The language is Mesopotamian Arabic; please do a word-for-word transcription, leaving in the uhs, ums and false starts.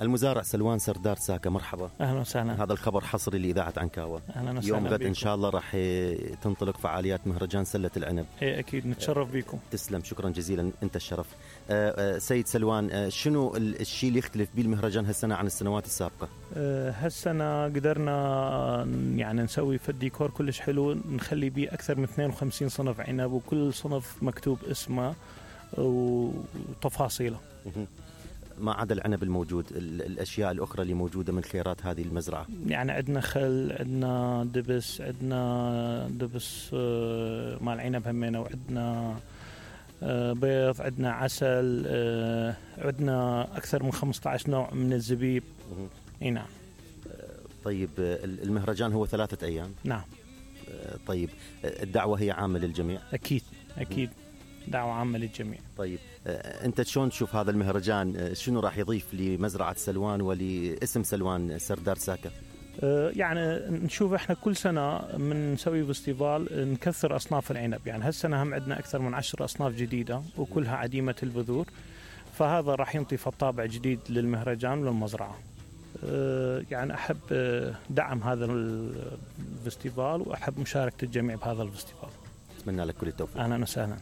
المزارع سلوان سردار ساكا، مرحبا. أهلا وسهلا. هذا الخبر حصري لإذاعة عنكاوة. أهلا وسهلا. يوم غد إن شاء الله راح تنطلق فعاليات مهرجان سلة العنب. إيه أكيد، نتشرف بكم. تسلم، شكرا جزيلا، أنت الشرف. أه سيد سلوان، أه شنو الشيء اللي يختلف بيه المهرجان هالسنة عن السنوات السابقة؟ أه هالسنة قدرنا يعني نسوي في الديكور كلش حلو، نخلي بيه أكثر من اثنين وخمسين صنف عنب، وكل صنف مكتوب اسمه وتفاصيله. ما عدا العنب الموجود، الأشياء الأخرى اللي موجودة من خيرات هذه المزرعة، يعني عندنا خل، عندنا دبس، عندنا دبس مال عنب همينة، وعندنا بيض، عندنا عسل، عندنا أكثر من خمسة عشر نوع من الزبيب. اي نعم. طيب المهرجان هو ثلاثة أيام؟ نعم. طيب الدعوة هي عامة للجميع؟ أكيد أكيد، دعوة عامة للجميع. طيب أنت شلون تشوف هذا المهرجان؟ شنو راح يضيف لمزرعة سلوان ولاسم سلوان سردار ساكا؟ يعني نشوف احنا كل سنة من نسوي فيستيفال نكثر أصناف العنب، يعني هالسنة هم عندنا أكثر من عشر أصناف جديدة وكلها عديمة البذور، فهذا راح ينطي طابع جديد للمهرجان وللمزرعة. يعني أحب دعم هذا الفيستيفال وأحب مشاركة الجميع بهذا الفيستيفال. أتمنى لك كل التوفيق. أهلا وسهلا.